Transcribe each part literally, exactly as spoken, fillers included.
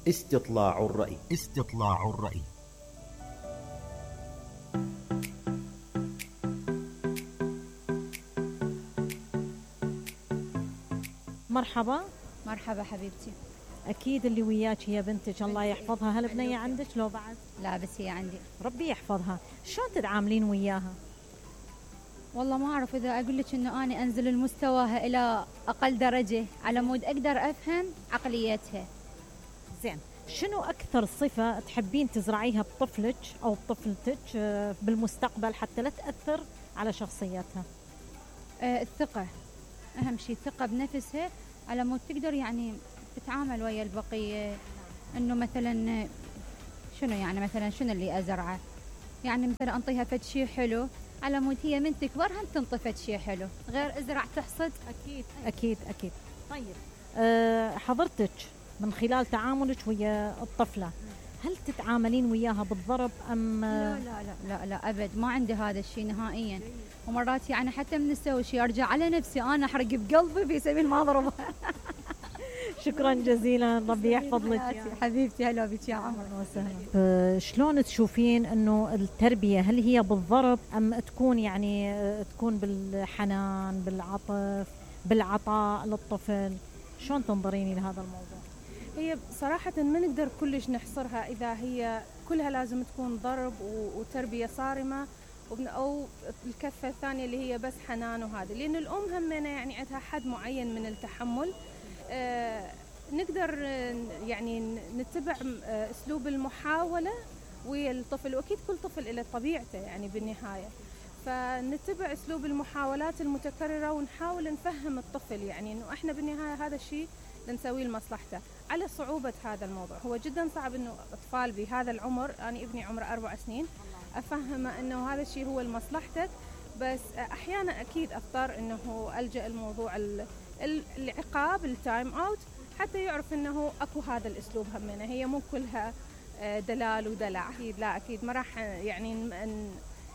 استطلاع الرأي. استطلاع الرأي. مرحبا. مرحبا حبيبتي. أكيد اللي وياك هي بنتك الله يحفظها. هل بنية عندك لو بعد؟ لا بس هي عندي. ربي يحفظها. شلون تتعاملين وياها؟ والله ما أعرف إذا أقول لك إنه أنا أنزل المستواها إلى أقل درجة على مود أقدر أفهم عقليتها. زين، شنو أكثر صفة تحبين تزرعيها بطفلك أو بطفلتك بالمستقبل حتى لا تأثر على شخصيتها؟ آه الثقة، أهم شيء الثقة بنفسها على مود تقدر يعني تتعامل ويا البقية. إنه مثلا شنو يعني مثلا شنو اللي أزرعه، يعني مثلا أنطيها فد شيء حلو على مود هي من تكبر هم تنطي فد شيء حلو، غير ازرع تحصد. أكيد أكيد أكيد. طيب أه حضرتك من خلال تعاملك ويا الطفلة هل تتعاملين وياها بالضرب أم؟ لا لا لا لا, لا أبد، ما عندي هذا الشيء نهائيا. ومرات يعني حتى من نسوي شيء أرجع على نفسي أنا أحرق بقلبي في سبيل ما أضربها. شكرا جزيلا، ربي يحفظ لك يا حبيبتي. هلا بك يا عمر وسهلا. شلون تشوفين انه التربيه هل هي بالضرب ام تكون يعني تكون بالحنان بالعطف بالعطاء للطفل؟ شلون تنظريني لهذا الموضوع؟ هي صراحة ما نقدر كلش نحصرها إذا هي كلها لازم تكون ضرب وتربية صارمة أو الكفة الثانية اللي هي بس حنان وهذا، لأن الأم همنا يعني عندها حد معين من التحمل. آه نقدر يعني نتبع آه أسلوب المحاولة ويا الطفل، وأكيد كل طفل له طبيعته يعني بالنهاية، فنتبع أسلوب المحاولات المتكررة ونحاول نفهم الطفل يعني إنه إحنا بالنهاية هذا الشيء نسويه لمصلحته. على صعوبة هذا الموضوع، هو جدا صعب إنه أطفال بهذا العمر، أنا ابني عمره أربع سنين، أفهمه إنه هذا الشيء هو لمصلحتك، بس أحيانا أكيد أضطر إنه ألجأ الموضوع العقاب التايم أوت حتى يعرف إنه أكو هذا الأسلوب همنا، هي مو كلها دلال ودلع. أكيد لا، أكيد ما راح يعني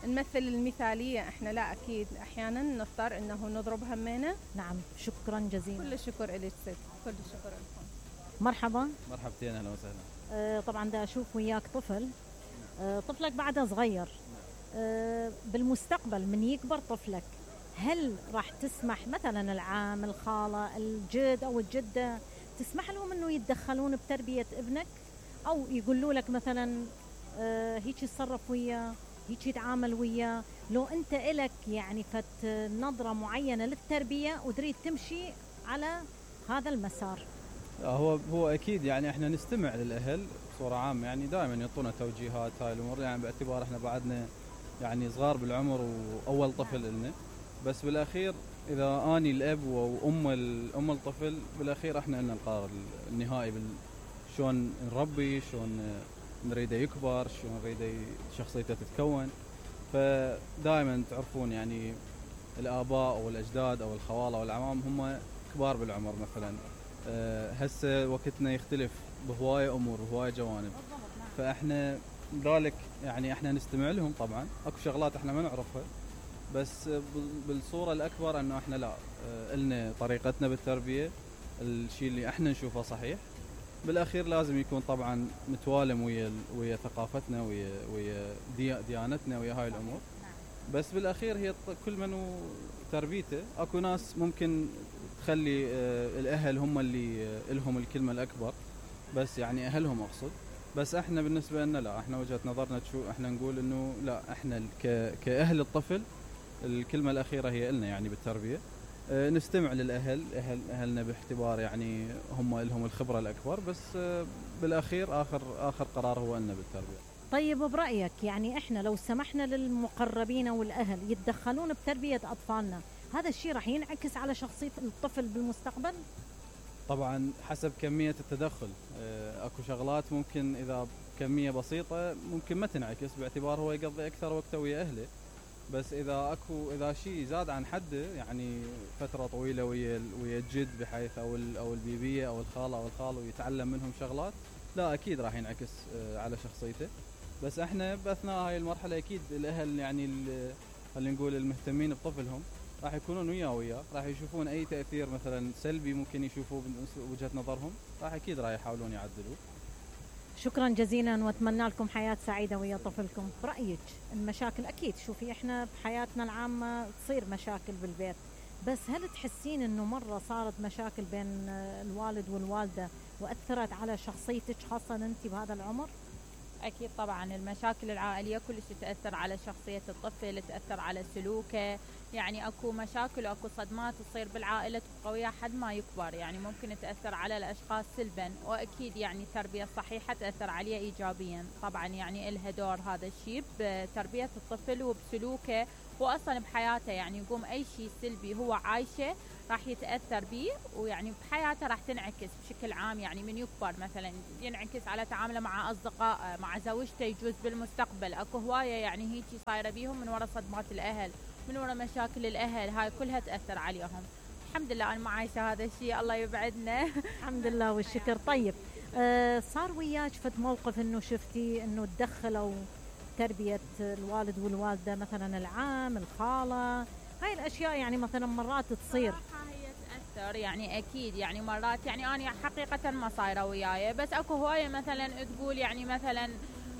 نمثل المثالية إحنا، لا أكيد أحيانا نضطر إنه نضرب همنا. نعم، شكرا جزيلا. كل الشكر إليك ست، كل الشكر لكم. مرحبا. مرحبتين، أهلا وسهلا. آه طبعا دا أشوف وياك طفل، آه طفلك بعده صغير، آه بالمستقبل من يكبر طفلك هل راح تسمح مثلا العام الخالة الجد أو الجدة تسمح لهم أنه يتدخلون بتربية ابنك، أو يقولوا لك مثلا آه هيك يتصرف وياه هيك يتعامل وياه، لو أنت إلك يعني فت نظرة معينة للتربية وتريد تمشي على هذا المسار؟ هو هو أكيد يعني إحنا نستمع للأهل بصورة عامة، يعني دائما يعطونا توجيهات هاي الأمور، يعني باعتبار إحنا بعدنا يعني صغار بالعمر وأول طفل لنا، بس بالأخير إذا أني الأب وأم الأم الطفل بالأخير إحنا لنا القرار النهائي شلون نربي، شلون نريده يكبر، شلون نريده شخصيته تتكون. فدائما تعرفون يعني الآباء أو الأجداد أو الخوالة والعمام هم كبار بالعمر مثلا، أه هسه وقتنا يختلف بهواية أمور وهواية جوانب، فإحنا ذلك يعني إحنا نستمع لهم. طبعا أكو شغلات إحنا ما نعرفها، بس بالصورة الأكبر أنه إحنا لا لنا طريقتنا بالتربية، الشيء اللي إحنا نشوفه صحيح، بالأخير لازم يكون طبعا متوالم ويا ويا ثقافتنا ويا ويا ديانتنا ويا هاي الأمور، بس بالأخير هي كل من تربيته. أكو ناس ممكن تخلي الأهل هم اللي لهم الكلمة الأكبر، بس يعني أهلهم أقصد، بس إحنا بالنسبة لنا لا، إحنا وجهة نظرنا تشو إحنا نقول إنه لا، إحنا كأهل الطفل الكلمة الأخيرة هي إلنا يعني بالتربية. أه نستمع للأهل، أهل أهلنا باعتبار يعني هم لهم الخبرة الأكبر، بس أه بالأخير آخر آخر قرار هو إلنا بالتربية. طيب برأيك يعني إحنا لو سمحنا للمقربين والأهل يتدخلون بتربية أطفالنا، هذا الشيء راح ينعكس على شخصية الطفل بالمستقبل؟ طبعا حسب كمية التدخل، أه أكو شغلات ممكن إذا كمية بسيطة ممكن ما تنعكس باعتبار هو يقضي أكثر وقته ويا أهله، بس إذا أكو إذا شيء زاد عن حده يعني فترة طويلة ويا ويا الجد بحيث أو أو البيبية أو الخالة أو الخال ويتعلم منهم شغلات، لا أكيد راح ينعكس على شخصيته. بس إحنا بأثناء هاي المرحلة أكيد الأهل يعني خلينا نقول المهتمين بطفلهم راح يكونون وياه وياه، راح يشوفون أي تأثير مثلا سلبي ممكن يشوفوه من وجهة نظرهم، راح أكيد راح يحاولون يعدلوه. شكرا جزيلا واتمنى لكم حياة سعيدة ويا طفلكم. برأيك المشاكل أكيد شوفي إحنا بحياتنا العامة تصير مشاكل بالبيت، بس هل تحسين إنه مرة صارت مشاكل بين الوالد والوالدة وأثرت على شخصيتك خاصة أنت بهذا العمر؟ أكيد طبعا المشاكل العائلية كلش تأثر على شخصية الطفل، تأثر على سلوكه، يعني أكو مشاكل وأكو صدمات تصير بالعائلة قوية حد ما يكبر، يعني ممكن تأثر على الأشخاص سلبا، وأكيد يعني التربية الصحيحة تأثر عليه إيجابيا. طبعا يعني إلها دور هذا الشيء بتربية الطفل وبسلوكه وأصلا بحياته، يعني يقوم أي شيء سلبي هو عايشه راح يتأثر به، ويعني بحياته راح تنعكس بشكل عام، يعني من يكبر مثلا ينعكس على تعامله مع أصدقائه مع زوجته، يجوز بالمستقبل أكو هواية يعني هيجي صايرة بيهم من وراء صدمات الأهل، من وراء مشاكل الأهل، هاي كلها تأثر عليهم. الحمد لله أنا ما عايشة هذا الشيء، الله يبعدنا. الحمد لله والشكر. طيب آه صار وياك فد موقف إنه شفتي إنه تدخلوا تربية الوالد والوالدة مثلا العام الخالة، هاي الأشياء يعني مثلا مرات تصير؟ هي تأثر يعني أكيد، يعني مرات يعني أنا حقيقة ما صايرة وياي، بس أكو هواية مثلا تقول يعني مثلا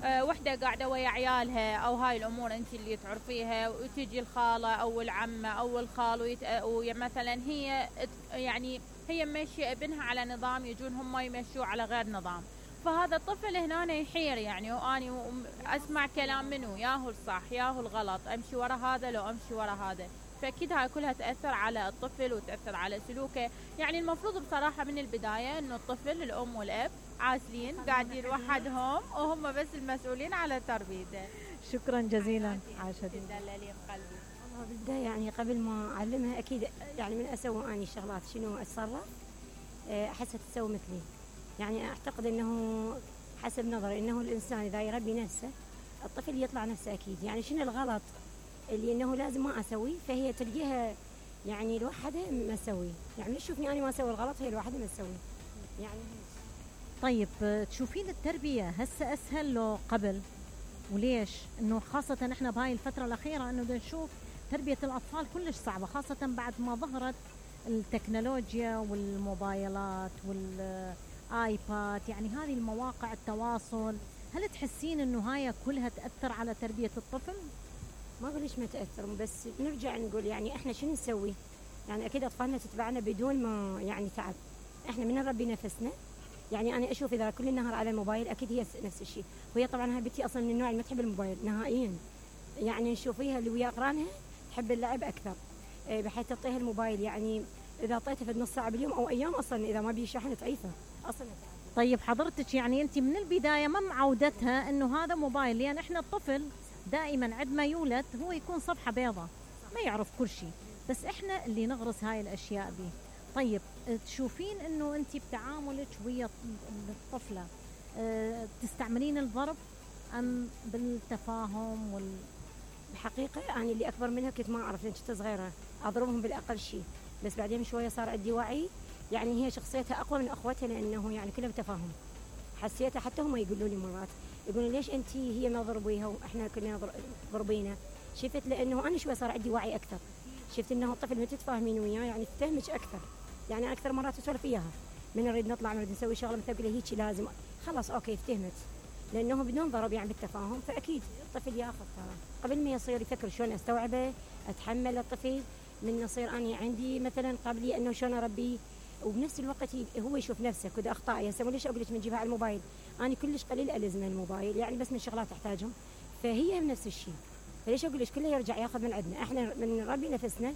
أه وحدة قاعدة ويا عيالها أو هاي الأمور أنت اللي تعرفيها، وتجي الخالة أو العمة أو الخال ويت... ومثلا هي يعني هي ماشية ابنها على نظام، يجون هم يمشوا على غير نظام، فهذا الطفل هنا يحير يعني، وأني أسمع كلام منه ياهو الصح ياهو الغلط، أمشي ورا هذا لو أمشي ورا هذا، فأكيد هاي كلها تأثر على الطفل وتأثر على سلوكه. يعني المفروض بصراحة من البداية إنه الطفل الأم والأب عازلين قاعدين وحدهم وهم بس المسؤولين على تربيته. شكرا جزيلا عاشت. تدللي بقلبي. والله بالبداية يعني قبل ما أعلمها أكيد يعني من أسوي أني شغلات شنو أتصرف أحسها تسوي مثلي، يعني أعتقد أنه حسب نظري أنه الإنسان إذا يربي نفسه الطفل يطلع نفسه أكيد، يعني شنو الغلط اللي أنه لازم ما أسوي، فهي تلقيها يعني الوحدة ما أسوي، يعني تشوفني أنا ما أسوي الغلط هي الوحدة ما تسوي يعني. طيب تشوفين التربية هسه أسهل لو قبل؟ وليش؟ إنه خاصة إحنا بهاي الفترة الأخيرة إنه نشوف تربية الأطفال كلش صعبة، خاصة بعد ما ظهرت التكنولوجيا والموبايلات والآيباد، يعني هذه المواقع التواصل، هل تحسين إنه هاي كلها تأثر على تربية الطفل؟ ما أقول ليش ما تأثر، بس نرجع نقول يعني إحنا شنو نسوي؟ يعني أكيد أطفالنا تتبعنا بدون ما يعني تعب، إحنا من نربي نفسنا، يعني أنا أشوف إذا كل النهار على الموبايل أكيد هي نفس الشيء، وهي طبعا هاي بنتي أصلا من النوع اللي ما تحب الموبايل نهائيا، يعني نشوفيها اللي ويا أقرانها تحب اللعب أكثر، بحيث تعطيها الموبايل، يعني إذا أعطيتها في نص ساعة باليوم أو أيام أصلا إذا ما بي شحن تعيفة أصلا. طيب حضرتك يعني أنت من البداية ما معودتها إنه هذا موبايل، لأن يعني إحنا الطفل دائما عندما يولد هو يكون صفحة بيضة ما يعرف كل شيء، بس إحنا اللي نغرس هاي الأشياء به. طيب تشوفين إنه أنت بتعاملك ويا الطفلة أه تستعملين الضرب أم بالتفاهم وال الحقيقة أنا يعني اللي أكبر منها كنت ما أعرف لأن كنت صغيرة أضربهم بالأقل شيء، بس بعدين شوية صار عندي وعي، يعني هي شخصيتها أقوى من أخوتها لأنه يعني كلها بتفاهم، حسيتها حتى هم يقولوا لي مرات يقولون ليش أنت هي ما ضربيها وإحنا كنا ضربينا، شفت لأنه أنا شوية صار عندي وعي أكثر، شفت إنه الطفل ما تتفاهمين وياه يعني تفهمك أكثر، يعني أكثر مرات أسولف إياها من نريد نطلع نريد نسوي شغلة مثل أقول هيك لازم خلاص أوكي افتهمت، لأنه بدون ضرب يعني بالتفاهم، فأكيد الطفل ياخذ ترى قبل ما يصير يفكر شلون أستوعبه أتحمل الطفل، من يصير أنا عندي مثلا قبلي إنه شلون أربيه، وبنفس الوقت هو يشوف نفسه كذا أخطاء، هسه ليش أقول لك بنجيبها على الموبايل، أنا كلش قليل ألزم الموبايل يعني بس من شغلات تحتاجهم، فهي نفس الشيء، فليش أقول لك كله يرجع ياخذ من عندنا، إحنا من نربي نفسنا،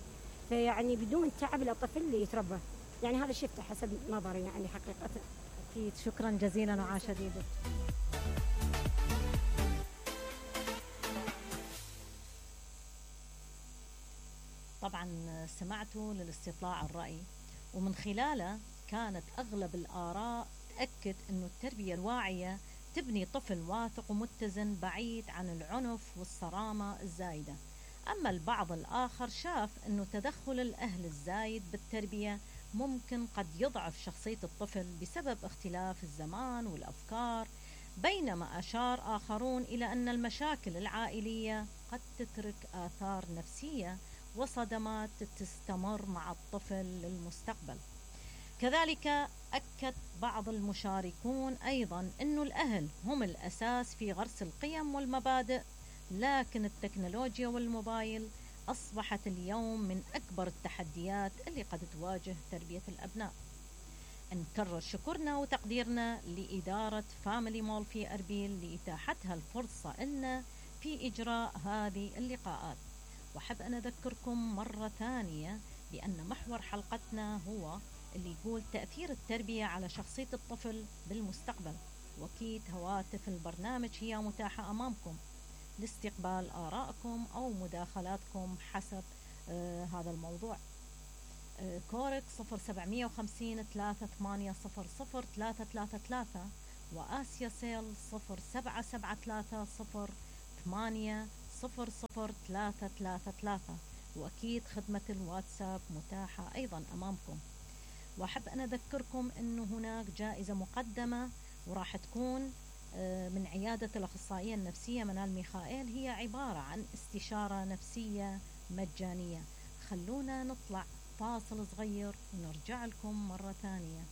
فيعني بدون تعب الطفل اللي يتربى، يعني هذا شفته حسب نظري يعني حقيقة. أكيد شكرا جزيلا وعاش يدك. طبعا سمعتوا للاستطلاع الرأي، ومن خلاله كانت أغلب الآراء تأكد أنه التربية الواعية تبني طفل واثق ومتزن بعيد عن العنف والصرامة الزايدة. أما البعض الآخر شاف أنه تدخل الأهل الزايد بالتربية ممكن قد يضعف شخصية الطفل بسبب اختلاف الزمان والأفكار، بينما أشار آخرون إلى أن المشاكل العائلية قد تترك آثار نفسية وصدمات تستمر مع الطفل للمستقبل. كذلك أكد بعض المشاركون أيضا أن الأهل هم الأساس في غرس القيم والمبادئ، لكن التكنولوجيا والموبايل أصبحت اليوم من أكبر التحديات اللي قد تواجه تربية الأبناء. نكرر شكرنا وتقديرنا لإدارة فاميلي مول في أربيل لإتاحتها الفرصة لنا في إجراء هذه اللقاءات. وحب أن أذكركم مرة ثانية بأن محور حلقتنا هو اللي يقول تأثير التربية على شخصية الطفل بالمستقبل، وأكيد هواتف البرنامج هي متاحة أمامكم لاستقبال آرائكم أو مداخلاتكم حسب آه هذا الموضوع. آه كورك صفر سبعمية وخمسين ثلاثة ثمانية صفر صفر ثلاثة ثلاثة ثلاثة، وآسيا سيل صفر سبعة سبعة ثلاثة صفر ثمانية صفر صفر ثلاثة ثلاثة ثلاثة، وأكيد خدمة الواتساب متاحة أيضا أمامكم. وأحب أن أذكركم أنه هناك جائزة مقدمة وراح تكون من عيادة الأخصائية النفسية منال ميخائيل، هي عبارة عن استشارة نفسية مجانية. خلونا نطلع فاصل صغير ونرجع لكم مرة ثانية.